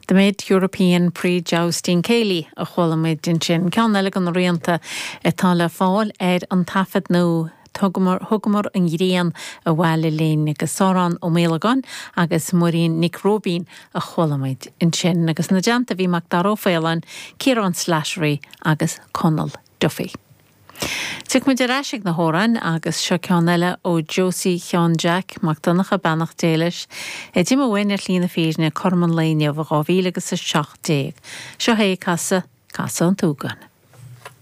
The Mid European Pre-Jousting Céilí a chuala muid ansin. Ceann eile de na rianta atá le fáil ar an taifead nua Thugamar, Thugamar an Ghrian Abhaile Linn agus Odhrán Ó Maolagáin agus Muirín Nic Róibín a chuala muid ansin. Agus ina dteannta bhí Macdara Ó Faoláin, Ciarán Slattery agus Conal Duffy. Tiocfaidh muid ar ais ag na hamhráin agus seo ceann eile ó Josie Sheáin Jack Mac Donncha, beannacht Dé leis, a d'imigh uainn ar shlí na fírinne cothrom an lae inniu i 2017. Seo é ag casadh Casadh an tSúgáin.